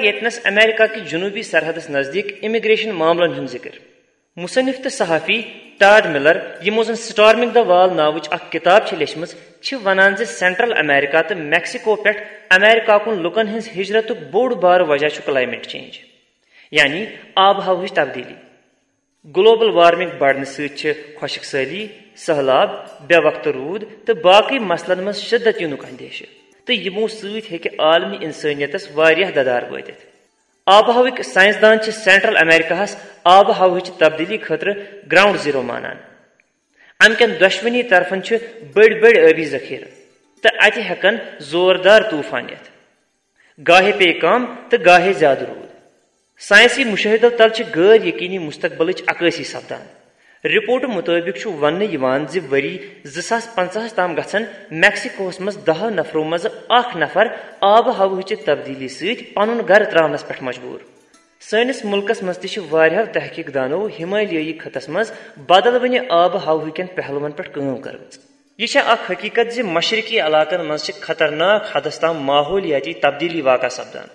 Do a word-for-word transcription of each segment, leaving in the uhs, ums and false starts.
ییٚتنَس امریکہ کہِ جنوٗبی سرحدس نزدیٖک امیگریشن معاملن ہُنٛد ذِکر۔ مصنف تہٕ صحافی ٹاڈ ملر، یِمو زن سٹارمنگ دی وال ناوٕچ اکھ کِتاب چھِ لیچھمٕژ، چھِ ونان زِ سینٹرل امریکہ تہٕ میکسیکو پٮ۪ٹھ امریکہ کُن لوٗکن ہٕنٛز ہجرتُک بوٚڑ بارٕ وجہ چھُ کلائمیٹ چینج، یعنی آب و ہوہٕچ تبدیلی۔ گلوبل وارمنگ بڑنہٕ سۭتۍ چھِ خۄشک سٲلی، سٔہلاب، بے وقتہٕ روٗد تہٕ باقٕے مسلن منٛز شدت یِنُک اندیشہٕ، تہٕ یِمو سۭتۍ ہیٚکہِ عالمی انسٲنیتس واریاہ ددار وٲتِتھ۔ آب و ہوٕکۍ سائنسدان چھِ سینٹرل امریکہس آب و ہوہٕچ تبدیلی خٲطرٕ گراؤنڈ زیرو مانان۔ امہِ کٮ۪ن دۄشوٕنی طرفن چھِ بٔڑۍ بٔڑۍ ٲبی ذخیرٕ، تہٕ اتہِ ہٮ۪کن زوردار طوفان یِتھ۔ گاہے پیٚیہِ کم تہٕ گاہے زیادٕ روٗد۔ ساینسی مُشٲہِدو تل چھِ غٲر یقینی مستقبلٕچ عکٲسی سپدان۔ رپورٹہٕ مُطٲبِق چھُ وننہٕ یِوان زِ ؤری زٕ ساس پنٛژاہس تام گژھن میکسیکوہس منٛز دَہو نفرو منٛزٕ اکھ نفر آب و ہوہٕچہِ تبدیلی سۭتۍ پنُن گرٕ ترٛاونس پٮ۪ٹھ مجبوٗر۔ سٲنِس مُلکس منٛز تہِ چھِ واریاہو تحقیق دانو ہمالیٲیی خطس منٛز بدلوٕنہِ آب و ہوہٕکٮ۪ن پہلوَن پٮ۪ٹھ کٲم کٔرمٕژ۔ یہِ چھےٚ اکھ حقیقت زِ مشرقی علاقن منٛز چھِ خطرناک حدس تام ماحولیاتی تبدیلی واقع سپدان۔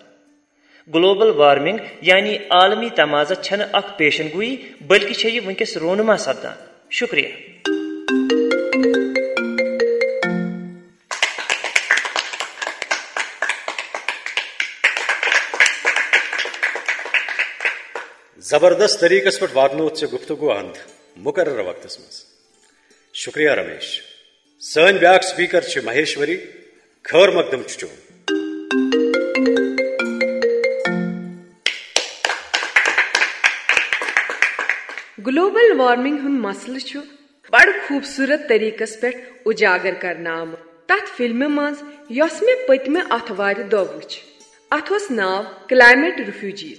گلوبل وارمنگ یعنی عالمی تمازہ چھنہٕ اکھ پیشن گوئی، بلکہ چھےٚ یہِ وٕنکیٚس رونما سپدان۔ شکریہ۔ زبردست طریقس پٮ۪ٹھ واتنووُتھ ژےٚ گفتگو ہند مقررہ وقتس منٛز۔ شکریہ رمیش۔ سٲنۍ بیاکھ سپیکر چھِ مہیشوری۔ خٲر مقدم چھُ چون۔ گلوبل وارمنگ ہُنٛد مسلہٕ چھُ بڑٕ خوٗبصوٗرت طریقس پٮ۪ٹھ اجاگر کرنہٕ آمُت تتھ فلمہِ منٛز، یۄس مےٚ پٔتمہِ آتھوارِ دۄہ وٕچھ۔ اتھ اوس ناو کلائمیٹ ریفیوجیز۔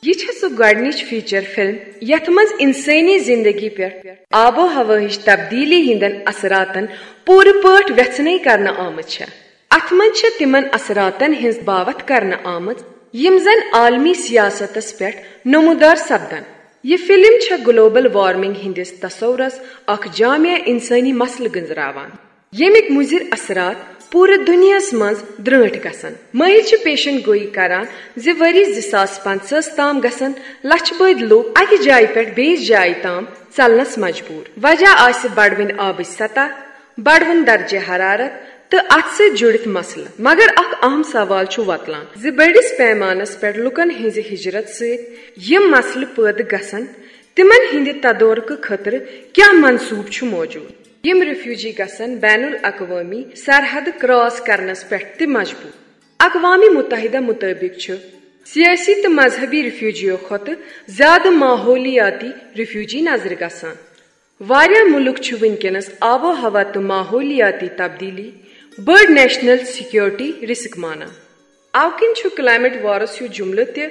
یہ چھےٚ سۄ گۄڈنِچ فیچر فلم یتھ منٛز انسٲنی زندگی پٮ۪ٹھ آب و ہوہٕچ تبدیلی ہٕنٛدٮ۪ن اثراتن پوٗرٕ پٲٹھۍ ویژھنٕے کرنہٕ آمٕژ چھےٚ۔ اتھ منٛز چھےٚ تِمن اثراتن ہٕنٛز باوتھ کرنہٕ آمٕژ، یم زن عالمی سیاستس پٮ۪ٹھ نمودار سپدن۔ یہ فلم چھےٚ گلوبل وارمنگ ہٕنٛدِس تصورس اکھ جامع انسٲنی مسلہٕ گنزراوان، ییٚمِکۍ مُضر اثرات پوٗرٕ دُنیاہس منٛز درٛٲنٹھۍ گژھن۔ مٲہِر چھِ پیشن گویی کران زِ ؤری زٕ ساس پنٛژاہس تام گژھن لچھِ بٔدۍ لوٗکھ اکہِ جایہِ پٮ۪ٹھ بیٚیِس جایہِ تام ژلنس مجبوٗر۔ وجہ آسہِ بڑوٕنۍ آبٕچ سطح، بڑوُن درجہ حرارت تہٕ اتھ سۭتۍ جُڑِتھ مسلہٕ۔ مگر اکھ اہم سوال چھُ وۄتلان زِ بٔڑِس پیمانس پٮ۪ٹھ لوٗکن ہٕنٛزِ ہجرت سۭتۍ یِم مسلہٕ پٲدٕ گژھن، تِمن ہٕنٛدِ تدورکہٕ خٲطرٕ کیٛاہ منصوٗبہٕ چھُ موجود؟ یِم ریفیوجی گژھن بین الاقوٲمی سرحدٕ کراس کرنس پٮ۪ٹھ تہِ مجبوٗر۔ اقوام متحدہ مُطٲبِق چھُ سیٲسی تہٕ مذہبی ریفیوجیو کھۄتہٕ زیادٕ ماحولیاتی ریفیوجی نظرِ گژھان۔ واریاہ مُلک چھِ وٕنکیٚنَس آب و ہوا تہٕ ماحولیاتی تبدیلی بٔڑ نیشنل سیکیورٹی رسک مانان۔ اَوٕ کِنۍ چھُ کلائمیٹ وارس ہیوٗ جملہٕ تہِ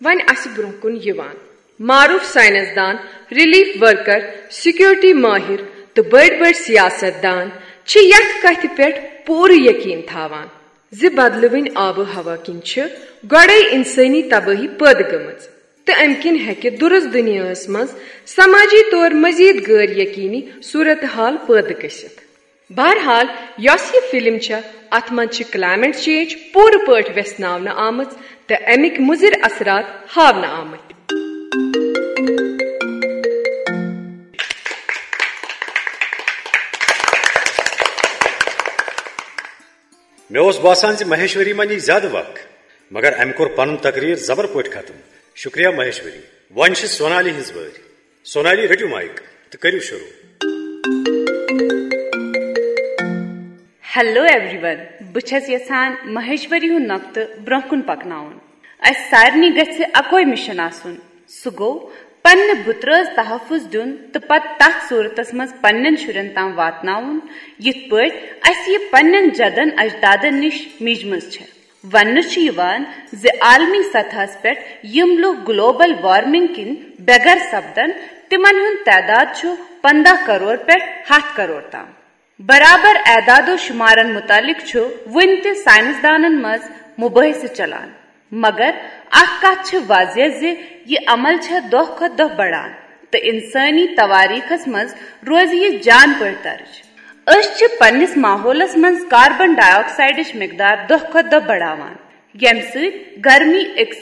وۄنۍ اَسہِ برٛونٛہہ کُن یِوان۔ معروف سائنسدان، ریلیف ورکر، سیکیورٹی ماہر تہٕ بٔڑۍ بٔڑۍ سیاست دان چھِ یَتھ کتھِ پٮ۪ٹھ پوٗرٕ یقین تھاوان زِ بدلوٕنۍ آب و ہوا کِنۍ چھِ گۄڈَے انسٲنی تبٲہی پٲدٕ گٔمٕژ، تہٕ امہِ کِنۍ ہیٚکہِ درست دُنیاہَس منٛز سمٲجی طور مزید غٲر یقینی صورتحال پٲدٕ گٔژھِتھ۔ بہرحال، یۄس یہِ فلم چھےٚ، اتھ منٛز چھِ کلائمیٹ چینج پوٗرٕ پٲٹھۍ ویژھناونہٕ آمٕژ تہٕ امِکۍ مُضر اثرات ہاونہٕ آمٕتۍ۔ مےٚ اوس باسان زِ مہیشوری ما نی زیادٕ وق، مگر أمۍ کوٚر پنُن تقریر زبر پٲٹھۍ ختم۔ شکریہ مہیشوری۔ وۄنۍ چھِ سونالی ہٕنٛز وٲرۍ۔ سونالی، رٔٹِو مایک تہٕ کٔرِو شروع۔ Hello everyone، بہٕ چھَس یژھان مہیشوری ہُنٛد نۄقطہٕ برٛونٛہہ کُن پکناوُن۔ اسہِ سارنٕے گژھِ اکوے مشن آسُن، سُہ گوٚو پننہِ بُترٲژ تحفظ دیُن تہٕ پتہٕ تتھ صورتس منٛز پننٮ۪ن شُرٮ۪ن تام واتناوُن، یِتھ پٲٹھۍ اسہِ یہِ پننٮ۪ن جدن اجدادن نِش میجمٕژ چھےٚ۔ وننہٕ چھُ یِوان زِ عالمی سطحس پٮ۪ٹھ یِم لوٗکھ گلوبل وارمنگ کِنۍ بے گھر سپدن، تِمن ہُنٛد تعداد چھُ پنٛداہ کرور پٮ۪ٹھ ہَتھ کرور تام۔ برابر اعداد و شمارن متعلق چھُ وُنہِ تہِ سائنسدانن منٛز مباحثہٕ چلان، مگر اکھ کتھ چھِ واضح زِ یہِ عمل چھےٚ دۄہ کھۄتہٕ دۄہ بڑان تہٕ انسٲنی تواریخس منٛز روزِ یہِ جان پٲٹھۍ درج۔ أسۍ چھِ پننِس ماحولس منٛز کاربن ڈائی آکسائیڈٕچ مقدار دۄہ کھۄتہٕ دۄہ بڑاوان، ییٚمہِ سۭتۍ گرمی أکسٕے